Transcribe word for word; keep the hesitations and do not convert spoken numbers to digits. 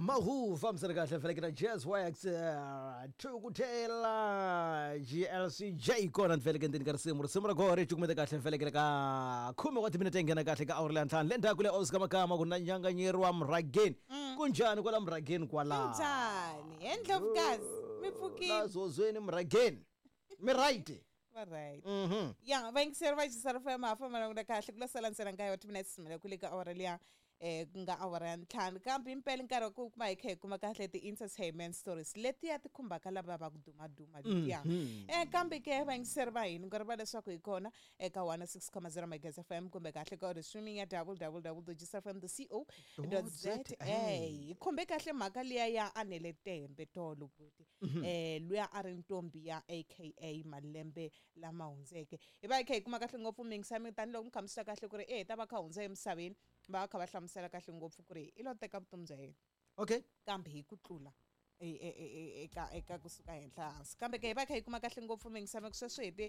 Mahu fambisana kahle felekela Jazz Wax eh, Thukutela G L C J kona ni ndzeni ka risimu risimu ra kona ri cukumeta kahle felekela ka khume wa timinete nghena kahle ka awuri leya ntlhanu le ndzhaku le Oscar Makama ku na nyanganyeri wa murhageni. Kunjhani kwala murhageni kwala? Njhani he, Ndlovukazi? Mi pfukile? La zozweni murhageni mi right? Va right. Mhm ya, vayingiseri va Jisara F M, ha famba languta kahle ku la sala ntsena nkaye wa timinete simela kule ka awara liya eh ku nga awara ya ntlhanu, kambe impela nkarhi wa ku kuma hi kha hi kuma kahle ti-entertainment stories letiya ti khumbaka lava va ku dumaduma letiya. eh kambe ke vayingiseri va hina, nkarhi va leswaku hi kona eka one six zero Megahertz F M kumbe kahle ka audio streaming ya W W W dot G S F M dot co dot Z A. Hi khumbe kahle mhaka liya ya Anele Tembe tolo buti, eh luya a ri ntombi ya A K A malembe lama hundzeke. Hi va hi kha hi kuma kahle ngopfu mingisami tanihiloko mi kha mi swi twa kahle ku ri e hi ta va kha hundza emisaveni, va va kha va hlamusela kahle ngopfu ku ri i lo teka vutomi bya yena okay kambe hi ku tlula e- e- e- e- eka eka kusuka henhla hansi. Kambe ke hi va kha hi kuma kahle ngopfu mingisami ku sweswo hi ti